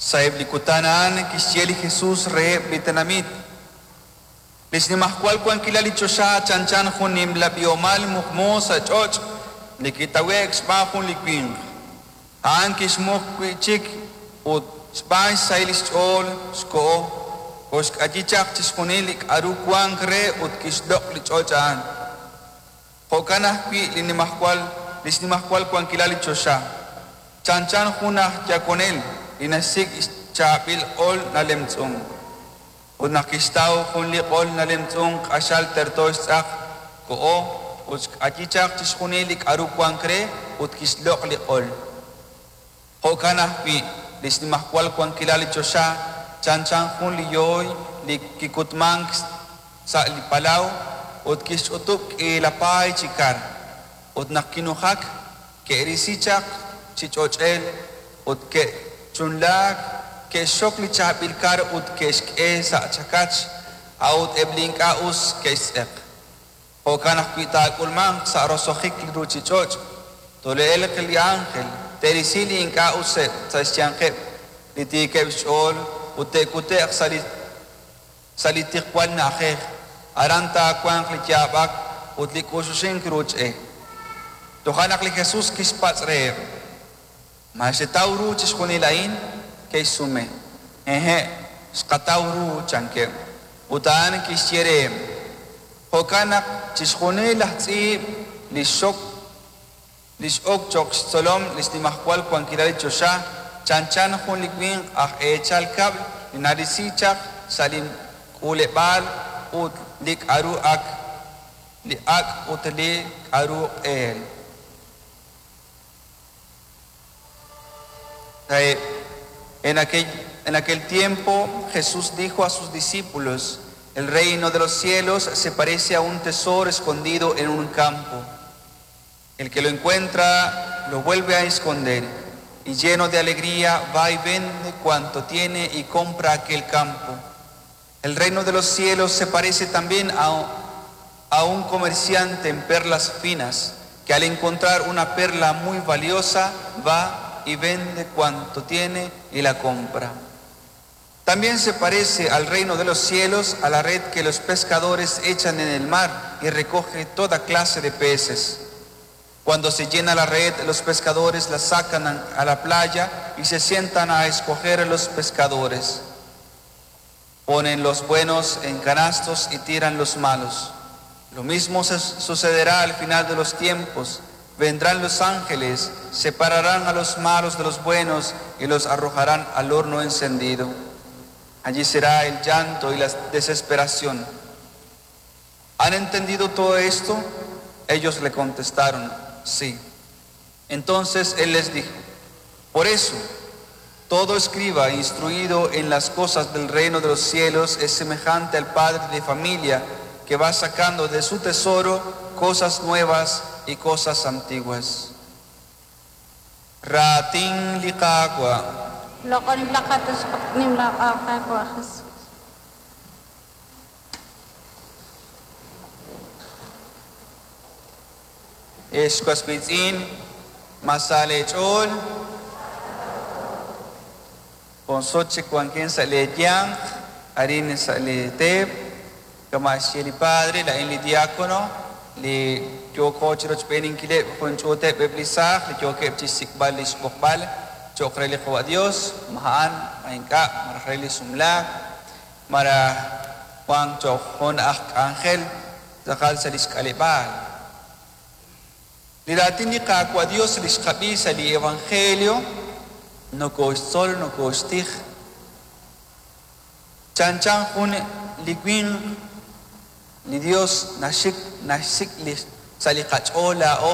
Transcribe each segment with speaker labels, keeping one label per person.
Speaker 1: Sa'eb' li kutan a'an kixye li Jesus reheb' li tenamit, Li xnimajwal wankilal li choxa chanchan jun nimla b'ihomal muqmu sa' ch'och' li kitawe'k xb'aan jun li winq. A'an kixmuq wi' chik ut, xb'aan xsahil xch'ool, xkoho, koxk'ayi chaq chixjunil li k'aru wank re ut kixloq' li ch'och' a'an. Jo'kan ajwi' li nimajwal li xnimajwal wankilal li choxa, chanchan jun aj yakonel li naxsik' xchaab'il q'ol nalemtz'unk. Ut naq kixtaw jun li q'ol nalemtz'unk q'axal terto xtz'aq, koho ut xk'ayi chaq chixjunil li k'aru wank re ut kixloq' li q'ol. Jo'kan ajwi' li xnimajwal wankilal li choxa chanchan jun li yooy li kikutmank sa' li palaw ut kixch'utub' k'iila paay chi kar. Ut naq kinujak, ke'risi chaq chi ch'och'el ut ke'chunlaak, ke'xxok li chaab'il kar ut ke'xk'e sa' chakach, a'ut eb' li ink'a' us ke'xtz'eq. Jo'kan ajwi' taak'ulmanq sa' roso'jik li ruuchich'och', tole'elq li ánjel, te'risi li ink'a' useb' sa' xyanqeb' li tiikeb' xch'ool ut te'kute'q sa' li sa' li tiqwal na'ajej, aran taawanq li yaab'ak ut li k'uxuxink ruuch e. Toja' naq li Jesus kixpatz' reheb', Ma xetaw ru chixjunil a'in? Ke'xsume, Hehe', xqataw ru, chankeb'. Ut a'an kixye reheb', Jo'kan naq chixjunil laj tz'iib' li xxok li x'ok cho'q xtzolom li xnimajwal wankilal li choxa chanchan jun li winq aj eechal kab'l li narisi chaq sa' li k'uuleb'aal ut li k'aru ak li ak' ut li k'aru q'eel. En aquel, en aquel tiempo Jesús dijo a sus discípulos, el reino de los cielos se parece a un tesoro escondido en un campo. El que lo encuentra lo vuelve a esconder y lleno de alegría va y vende cuanto tiene y compra aquel campo. El reino de los cielos se parece también a, a un comerciante en perlas finas, que al encontrar una perla muy valiosa va y vende cuanto tiene y la compra. También se parece al reino de los cielos a la red que los pescadores echan en el mar y recoge toda clase de peces. Cuando se llena la red, los pescadores la sacan a la playa y se sientan a escoger a los pescadores. Ponen los buenos en canastos y tiran los malos. Lo mismo sucederá al final de los tiempos. Vendrán los ángeles, separarán a los malos de los buenos y los arrojarán al horno encendido. Allí será el llanto y la desesperación. ¿Han entendido todo esto? Ellos le contestaron, sí. Entonces él les dijo, por eso, todo escriba instruido en las cosas del reino de los cielos es semejante al padre de familia que va sacando de su tesoro cosas nuevas y cosas antiguas. Raatin li Qaawa'.
Speaker 2: Loq'oninb'ilaqat taxaq nimla Qaawa' Jesus.
Speaker 1: Ex was wiitz'in, ma sa leech'ool? Jun sut chik wankin sa' leeyanq, arin sa' li teep, kama' xye li padre, laa'in li diakono, li yooko chirochb'eeninkileb' jun ch'uuteb' eb' li saaj li yookeb' chixsik'b'al lix b'oqb'al cho'q re li Qawa' Dios, ma a'an, ma ink'a', malaj re li sumlaak, malaj wank cho'q jun aj k'anjel tz'aqal sa' lix k'aleb'aal. Li raatin li Qaawa' Dios li xqab'i sa' li evangelio nokooxtzol, nokooxtij. Chanchan jun li winq, li Dios naxik naxsik' li sa' li qach'ool laa'o.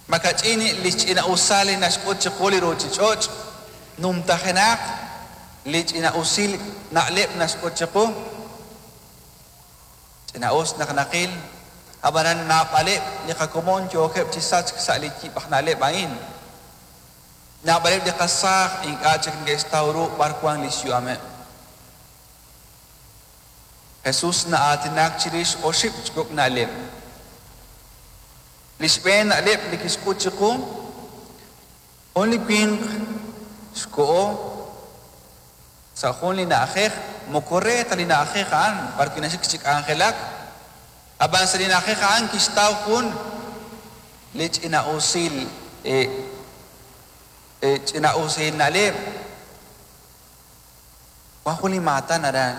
Speaker 1: Makach'in li xch'ina'usal li naxk'ut chiqu li ruuchich'och', numtajenaq li ch'ina'usil na'leb' naxk'ut chiqu. Ch'ina'us naq naqil, ab'anan naab'aleb' li qakomon yookeb' chi sachk sa' li yib' aj na'leb' a'in. Naab'aleb' li qasaaj ink'a' chik neke'xtaw ru b'ar wank li xyu'ameb'. Jesús na'aatinak chirix oxib' chi kok' na'leb'. Li xb'een na'leb' li kixk'ut chiqu, jun li winq Xkoho sa' jun li na'ajej, moko re ta li na'ajej a'an b'arwi' naxik chi k'anjelak, ab'an sa' li na'ajej a'an kixtaw jun li ch'ina'usil ch'ina'usil na'leb'. Wan jun li maatan aran.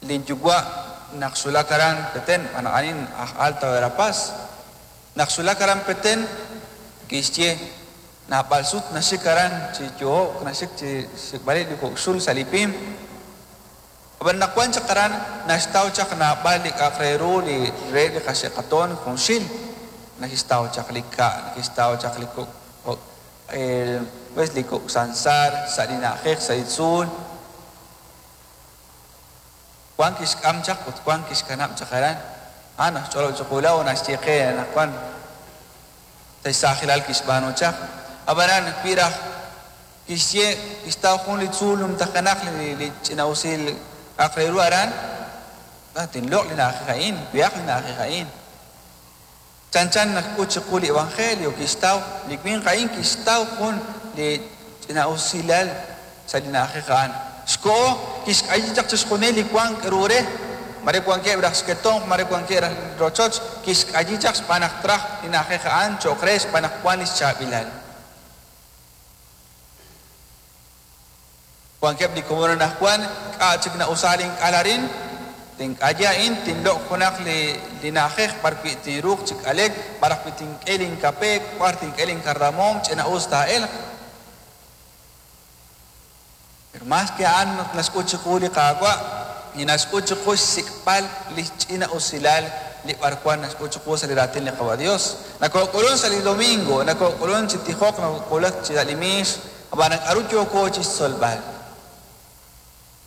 Speaker 1: Linyuwa' naq xwulak aran Petén, a'anin aj Alta Verapaz, naq xwulak aran Petén kixye naab'al sut naxik aran chi yohob'k, naxik chi xsik'b'aleb' li kok' xul sa' li pim. Ab'an naq wan chaq aran naxtaw chaq naab'al li k'a'aq re ru li reheb' li qaxe'qatoon junxil, nakixtaw chaq li ka', nakixtaw chaq li kok' pues li kok' sansar sa' li na'ajej sa' li tzuul. Wan kixk'am chaq ut wan kixkanab' chaq aran. A'an naxch'olob' chiqu laa'o naxye qe anaqwan sa' xsaajilal kixb'aanu chaq. Ab'anan wi raj kixye kixtaw jun li tzuul numtajenaq li ch'ina'usil k'a'aq re ru aran, tinloq' li na'ajej a'in, wehaq li na'ajej a'in. Chanchan naxk'ut chiqu li evangelio kixtaw li winq a'in kixtaw jun li ch'ina'usilal sa' li na'ajej a'an. Xkoho kixk'ayi chaq chixjunil li wank ru re, mare wankeb' raj xketomq, mare wankeb' raj rochoch, kixk'ayi chaq xb'aan naq traj li na'ajej a'an cho'q re xb'aan naq wank li xchaab'ilal. Wankeb' li komon anaqwan k'a' chik na'usa link'al arin, tink'ayi a'in, tinloq' junaq li na'ajej b'arwi' tinruuq chi k'alek, b'ar ajwi' tink'e linkape, b'ar tink'e linkardamoom, ch'ina'us taa'elq. Pero más que a'an naxk'ut chiqu li Qaawa', li naxk'ut chiqu xsik'b'al li ch'ina'usilal li b'arwan naxk'ut chiqu sa' li raatin li Qawa' Dios. Nakook'ulunk sa' li domingo, nakook'ulunk chi tijok, nakook'ulunk chi sa' li miix, ab'an k'aru yooko chi xtzolb'al.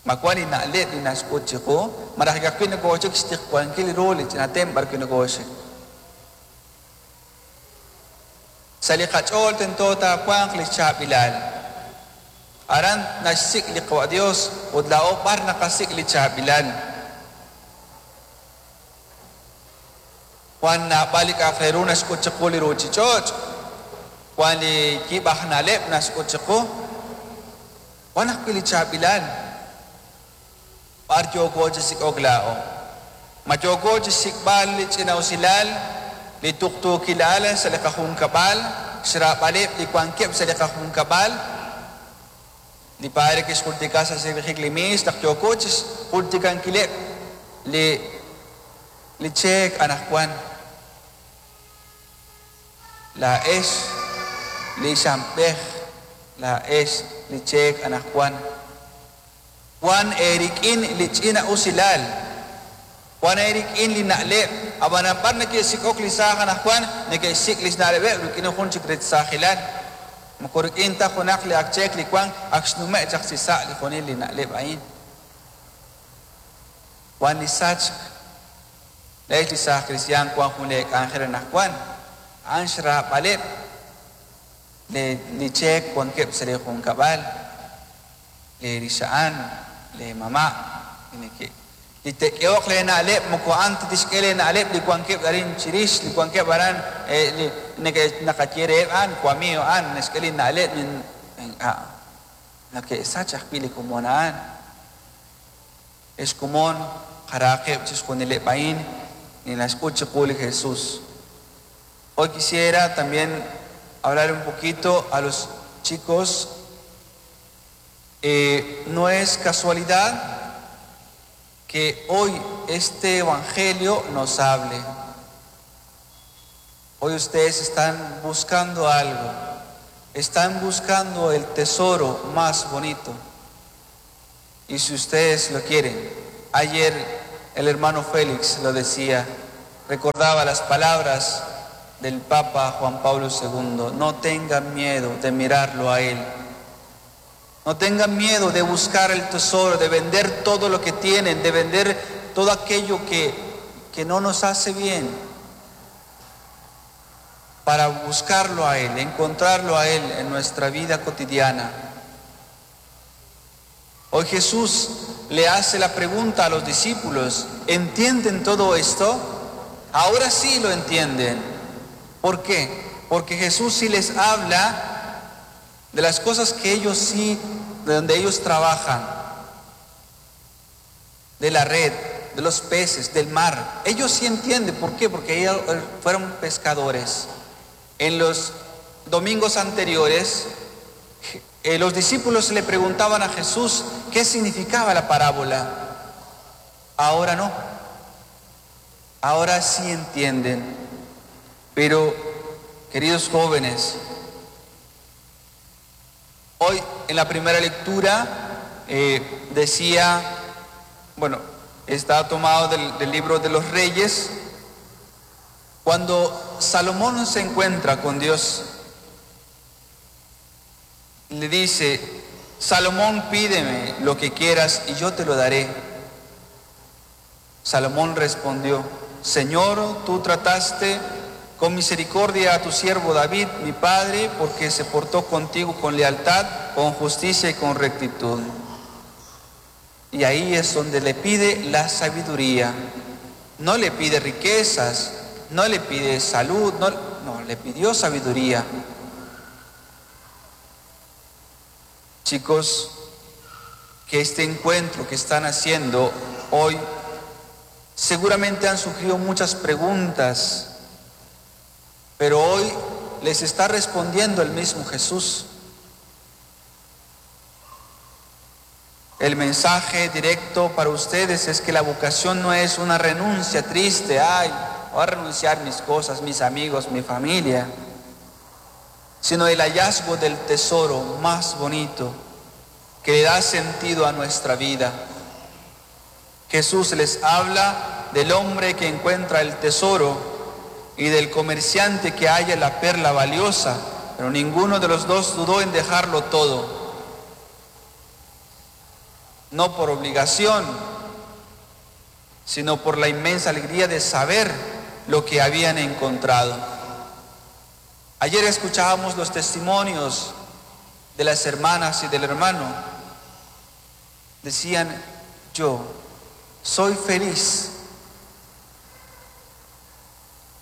Speaker 1: Ma wan li na'leb' li naxk'ut chiqu, malaj ka'ajwi' nokooxik xtiqwankil ru li ch'ina tem b'arwi' nokooxik. Sa' li qach'ool tento taawanq li chaab'ilal. Aran naxsik' li Qawa' Dios ut laa'o b'ar naqasik' li chaab'ilal. Wan naab'al li k'a'aq re ru naxk'ut chiqu li ruuchich'och', wan li yib' aj na'leb' naxk'ut chiqu, wan ajwi' li chaab'ilal. B'ar yooko chi sik'ok laa'o. Ma yooko chi xsik'b'al li ch'ina'usilal, li tuqtuukilal sa' li qajunkab'al, xraab'aleb' li wankeb' sa' li qajunkab'al. Li padre kixjultika sa' xsib'ijik li miix naq yooko chi xjultikankileb' li li cheek anaqwan. Laa'ex li xamb'ej, laa'ex li cheek anaqwan. Wan eerik'in li ch'ina'usilal, wan eerik'in li na'leb', ab'anan b'ar neke'sik'ok li saaj anaqwan, neke'xsik' li xna'leb'eb' rik'in jun chik rech saajilal. Moko rik'in ta junaq li ak cheek li wank ak xnume' chaq chi sa' li junil li na'leb' a'in. Wan li sachk, laa'ex li saaj kristiaan wan jun leek'anjel anaqwan, a'an xraab'aleb' li cheek wankeb' sa' li junkab'al, leerixa'an, leemama', li neke' li te'k'ehoq leena'leb' moko a'an ta tixk'e leena'leb' li wankeb' arin chirix, li wankeb' aran li neke' naqaye reheb' a'an wamiiw a'an naxk'e li na'leb' ink'a' nake'sach ajwi' li komon a'an. Ex komon qaraqeb' chixjunileb' a'in li naxk'ut chiqu li Jesús. Hoy quisiera también hablar un poquito a los chicos. No es casualidad que hoy este evangelio nos hable. Hoy ustedes están buscando algo, están buscando el tesoro más bonito. Y si ustedes lo quieren, ayer el hermano Félix lo decía, recordaba las palabras del Papa Juan Pablo II, no tengan miedo de mirarlo a él. No tengan miedo de buscar el tesoro, de vender todo lo que tienen, de vender todo aquello que no nos hace bien, para buscarlo a Él, encontrarlo a Él en nuestra vida cotidiana. Hoy Jesús le hace la pregunta a los discípulos, ¿entienden todo esto? Ahora sí lo entienden. ¿Por qué? Porque Jesús sí les habla De las cosas que ellos sí, de donde ellos trabajan, de la red, de los peces, del mar. Ellos sí entienden. ¿Por qué? Porque ellos fueron pescadores. En los domingos anteriores, los discípulos le preguntaban a Jesús qué significaba la parábola. Ahora no. Ahora sí entienden. Pero, queridos jóvenes, hoy en la primera lectura decía, bueno, está tomado del libro de los Reyes, cuando Salomón se encuentra con Dios, le dice: Salomón, pídeme lo que quieras y yo te lo daré. Salomón respondió: Señor, tú trataste con misericordia a tu siervo David, mi padre, porque se portó contigo con lealtad, con justicia y con rectitud. Y ahí es donde le pide la sabiduría. No le pide riquezas, no le pide salud, no, no, le pidió sabiduría. Chicos, que este encuentro que están haciendo hoy, seguramente han surgido muchas preguntas, pero hoy les está respondiendo el mismo Jesús. El mensaje directo para ustedes es que la vocación no es una renuncia triste, ay, voy a renunciar mis cosas, mis amigos, mi familia, sino el hallazgo del tesoro más bonito que le da sentido a nuestra vida. Jesús les habla del hombre que encuentra el tesoro y del comerciante que halla la perla valiosa, pero ninguno de los dos dudó en dejarlo todo. No por obligación, sino por la inmensa alegría de saber lo que habían encontrado. Ayer escuchábamos los testimonios de las hermanas y del hermano. Decían: yo soy feliz.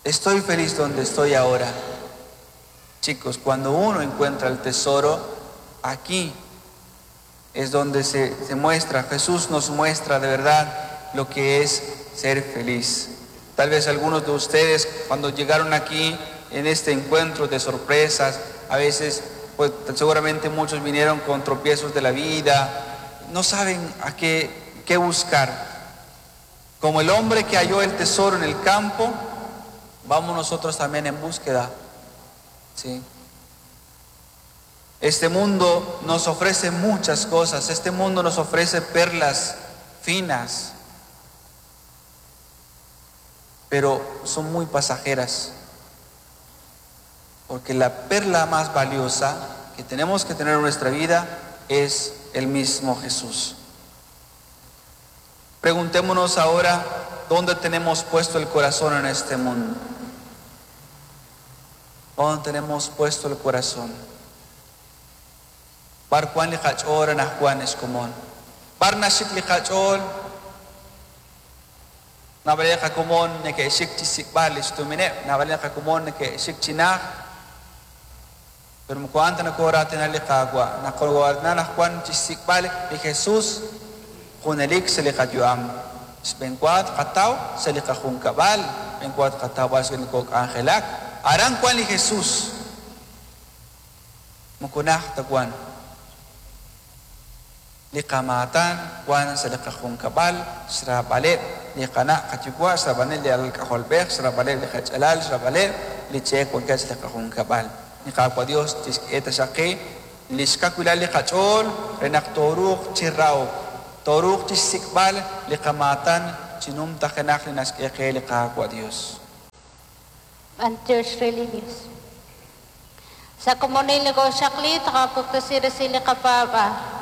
Speaker 1: Estoy feliz donde estoy ahora. Chicos, cuando uno encuentra el tesoro, aquí es donde se muestra, Jesús nos muestra de verdad lo que es ser feliz. Tal vez algunos de ustedes cuando llegaron aquí en este encuentro de sorpresas, a veces, seguramente muchos vinieron con tropiezos de la vida, no saben a qué buscar. Como el hombre que halló el tesoro en el campo, vamos nosotros también en búsqueda, ¿sí? Este mundo nos ofrece muchas cosas, este mundo nos ofrece perlas finas, pero son muy pasajeras, porque la perla más valiosa que tenemos que tener en nuestra vida es el mismo Jesús. Preguntémonos ahora, ¿dónde tenemos puesto el corazón en este mundo? ¿Dónde tenemos puesto el corazón? Bar Juan li qach'ool anajwan ex komon. Bar naxik li qach'ool, nab'alej qakomon neke'xik chi sik'b'al lix tumineb', nab'alej qakomon neke'xik chi naj. Pero moko a'an ta nakoratina li Qaawa', nakoratina anajwan chi sik'b'al li Jesús junelik sa' li qayu'am. Xb'enwa qataw sa' li qajunkab'al, xb'enwa qataw b'ar sa' li kok'anjelak. Aran wan li Jesús. Moko naj ta wan. Li qamaatan wan sa' li qajunkab'al, xraab'aleb' li qana' qayuwa', xraab'aleb' li alk'ajolb'ej, xraab'aleb' li qach'alal, xraab'aleb' li cheek wankeb' sa' li qajunkab'al. Li Qaawa' Dios tixk'e taxaqi li xkawilal li qach'ool re naq tooruuq chi rahok, tooruuq chi xsik'b'al li qamaatan chi numtajenaq li naxk'e qe li Qaawa' Dios.
Speaker 2: B'antiox re li Dios. Sa komonil li koxaqli taqapuktasi resi li qapaab'a.